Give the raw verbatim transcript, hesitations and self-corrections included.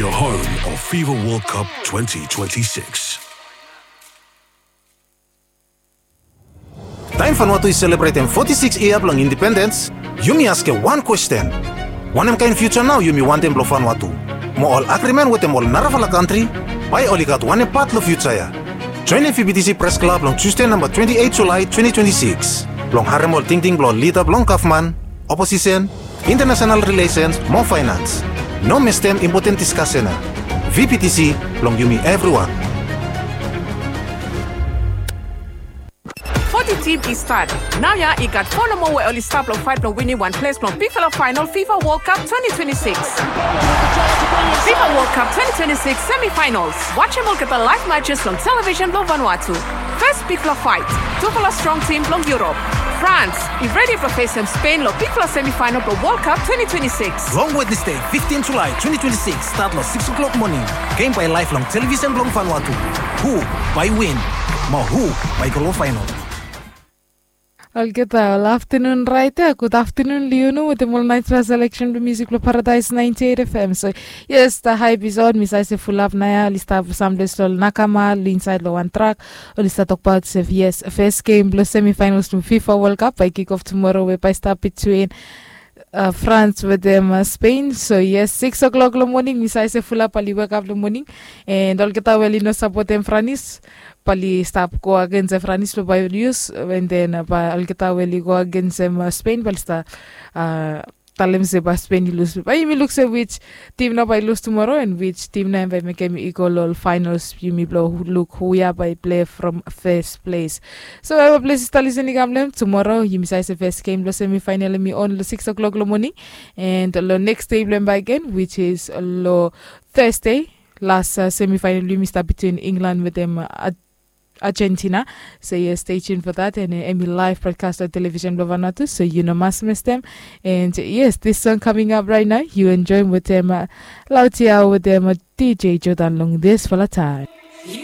The home of FIFA World Cup twenty twenty-six. Taem Vanuatu i selebretem foti sikis yia blong indipendens, yumi askem wan kwesten. Wanem kaen fiuja nao yumi wantem blong Vanuatu? Mo ol agrimen wetem ol narafala kantri, bae oli gat wanem pat long fiuja ya? Joenem VPTC Pres Klab long Tusde namba twenti eit Julae twenti twenti sikis blong harem ol tingting blong ol lida blong gavman, oposisen, intanasonal rilesens mo faenans. No mistem impoten diskasen ya. VPTC blong yumi evriwan. Foti tim i stat. Naoia i gat fo nomo we oli stap long faet blong winim wan ples blong bigfala faenol FIFA World Cup twenti twenti sikis. FIFA World Cup twenti twenti sikis semifinals. Wajem olgeta laev matches long television blong Vanuatu. Fes bigfala faet, tufala strong tim blong Yurop. Frans i redi blong fesem Spen long bigfala semifaenol blong World Cup twenti twenti sikis. Long Wednesde, fiftin Julae twenti twenti sikis, stat long sikis klok moning. Gem bae laev long television blong Vanuatu. Hu bae win? Mo hu bae go long faenol? Olgeta, ol aftanun raet ya. Gud aftanun long yumi wetem ol naesfala seleksen blong musik blong Paradise ninety-eight FM. So yes, the hype is on. Mi save se fulap naoia oli stap samples long ol nakama oli insaed long wan trak. Oli stap tokbaot se yes, fes gem blong semifinals blong FIFA World Cup bae kikof tumoro we bae stap bitwin uh, France wetem uh, Spain. So yes, sikis o'clock long moning mi save se fulap bae oli wekap long moning. And olgeta we oli no sapotem Franis bae oli stap go agensem Franis blong bae oli lus. And then uh, bae olgeta we oli go agensem uh, Spain bae oli stap uh, talem se bae Spain i lus. Bae yumi luk se which tim nao bae i lus tumoro and which tim nao hem bae i mekem i go long ol faenol. Yumi blong luk hu ya bae i plei from first place. So evri ples i stap lisin i kam long hem tumoro yumi save se fes gem blong semifaenol hem i on long sikis o'clock long moning. And long neks dei blong hem bakegen, which is long Thursday, las uh, semifaenol blong yumi stap bitwin England wetem uh, Argentina. So yes, stay tuned for that. And uh, hem i live broadcast long television blong Vanuatu, so yu no mas mistem. And uh, yes, this song coming up right now, yu enjoem wetem uh, Lautia wetem uh, DJ Jordan long disfala taem.